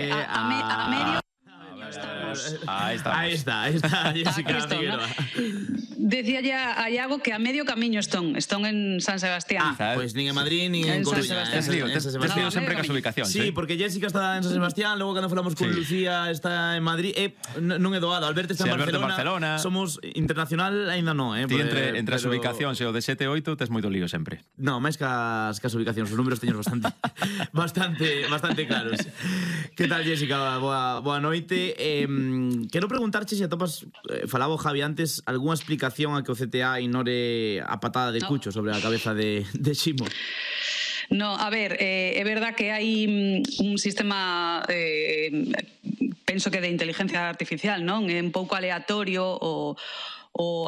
A medio estamos. Ahí está, Jessica Figueroa. Decíalle a Iago que a medio camiño están en San Sebastián. Pois nin en Madrid nin en Coruña. Tes lío sempre cas ubicacións. Sí, porque Jessica está en San Sebastián, logo cando falamos con Lucía está en Madrid. Non é doado, Alberto está en Barcelona. Somos internacional, aínda non, Ti entre as ubicacións e o de 7 e 8 tes moito lío sempre. Non, máis cas ubicacións, os números teños bastante claros. Que tal, Jessica? Boa noite. Quero preguntarche se atopas, falaba o Javi antes, algunha explicación a que o CTA ignore a patada de Cucho sobre a cabeza de Ximo. No, a ver, é verdad que hai un sistema penso que de inteligencia artificial, non? É un pouco aleatorio o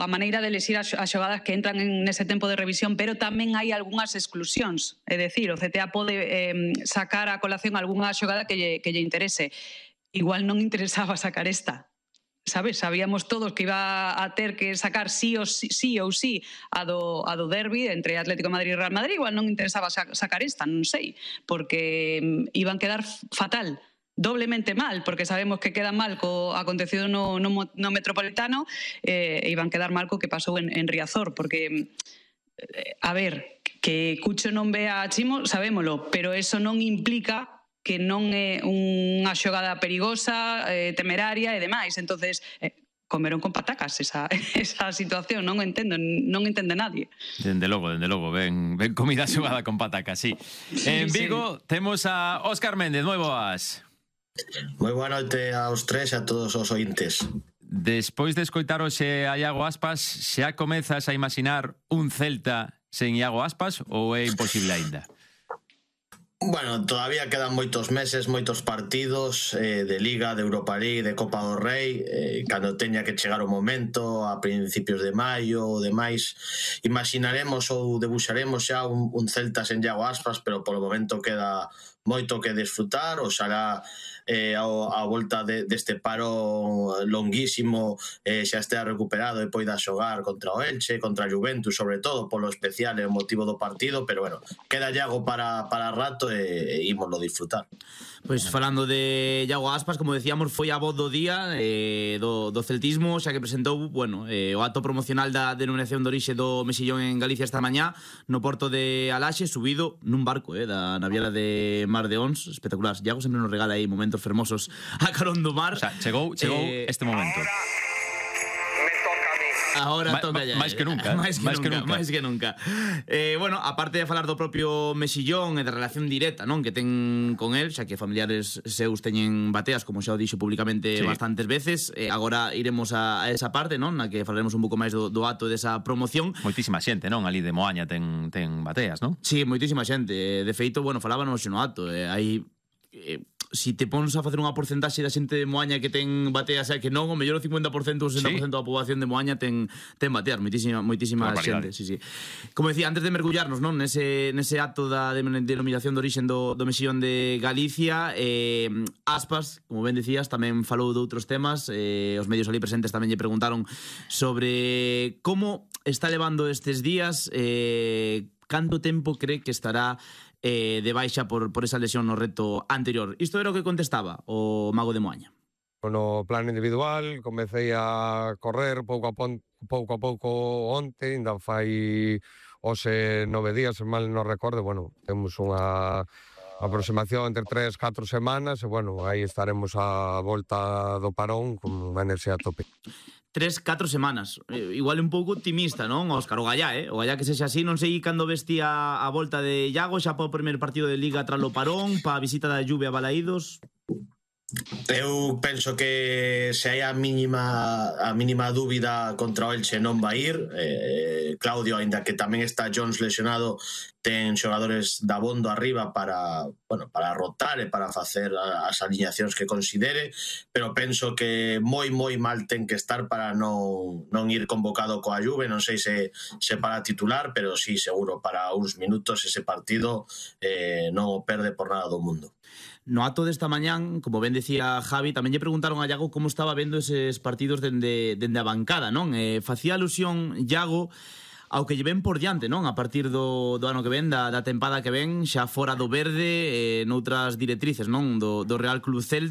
a maneira de elegir as xogadas que entran nese tempo de revisión, pero tamén hai algunhas exclusións, é dicir, o CTA pode sacar a colación algunha xogada que lle interese. Igual non interesaba sacar esta, sabes? Sabíamos todos que iba a ter que sacar sí ou sí a do derbi entre Atlético de Madrid e Real Madrid, igual non interesaba sacar esta, non sei, porque iban quedar fatal, doblemente mal, porque sabemos que queda mal co acontecido no Metropolitano, iban quedar mal co que pasou en Riazor, porque, a ver, que Cucho non ve a Chimo, sabémolo, pero eso non implica que non é unha xogada perigosa, temeraria e demais. Entonces, comeron con patacas esa situación, non entende nadie. Dende logo, ben comida xogada con patacas, sí. En Vigo temos a Óscar Méndez, moi boas. Moi boa noite aos tres e a todos os ointes. Despois de escoitar hoxe a Iago Aspas, xa comezas a imaginar un Celta sen Iago Aspas ou é imposible aínda? Bueno, todavía quedan moitos meses, moitos partidos de Liga, de Europa League, de Copa do Rei, cando teña que chegar o momento a principios de maio ou demais, imaginaremos ou debuxaremos xa un Celta sen Iago Aspas, pero polo momento queda moito que desfrutar. Oxalá a volta deste paro longuísimo xa estea recuperado e poida xogar contra o Elche, contra a Juventus, sobre todo polo especial e o motivo do partido, pero bueno, queda Iago para rato e ímoslo disfrutar. Pois falando de Iago Aspas, como decíamos, foi a voz do día do celtismo, xa que presentou, bueno, o acto promocional da denominación de orixe do Mexillón en Galicia esta mañá no porto de Alaxe, subido nun barco da naviera de Mar de Ons, espectacular. Iago sempre nos regala aí momentos fermosos a carón do mar. O sea, chegou este momento. Ahora toca ya. Máis que nunca. Máis que nunca. Bueno, aparte de falar do propio Mexillón e da relación directa, non, que ten con el, xa que familiares seus teñen bateas, como xa o dixo públicamente bastantes veces, agora iremos a esa parte, non, na que falaremos un pouco máis do acto desa promoción. Moitísima xente, non, ali de Moaña ten bateas, non? Sí, moitísima xente. De feito, bueno, falábanos no acto, hai si te pones a facer unha porcentaxe da xente de Moaña que ten bateas, que non, o mellor o 50% ou 60% da poboación de Moaña ten bateas, moitísima xente, sí. Como decía, antes de mergullarnos, non, nese acto da denominación de orixen do Mexillón de Galicia, Aspas, como ben decías, tamén falou de outros temas, os medios ali presentes tamén lle preguntaron sobre como está levando estes días, canto tempo cree que estará de baixa por esa lesión no reto anterior. Isto era o que contestaba o mago de Moaña. No plano individual comecei a correr pouco a pouco onte, ainda fai hoxe 9 días, se mal non recordo. Bueno, temos unha aproximación entre 3-4 semanas e, bueno, aí estaremos a volta do parón con unha enerxía a tope. 3-4 semanas. Igual un pouco optimista, non, Óscar? O Gallá, O Gallá que sexa así, non sei cando vestía a volta de Iago, xa para o primer partido de Liga tras o parón, para a visita da Juve a Balaídos. Eu penso que se hai a mínima dúbida contra o Elche non vai ir. Claudio, aínda que tamén está Jones lesionado, ten xogadores da bondo arriba para rotar e para facer as aliñacións que considere, pero penso que moi mal ten que estar para non ir convocado coa Juve. Non sei se para titular, pero sí, seguro, para uns minutos ese partido non o perde por nada do mundo. No acto desta mañán, como ben decía Javi, tamén lle preguntaron a Iago como estaba vendo eses partidos dende a bancada, non? Facía alusión Iago ao que lle ven por diante, non? A partir do ano que ven, da tempada que ven, xa fora do verde, noutras directrices, non? Do Real Club Celta.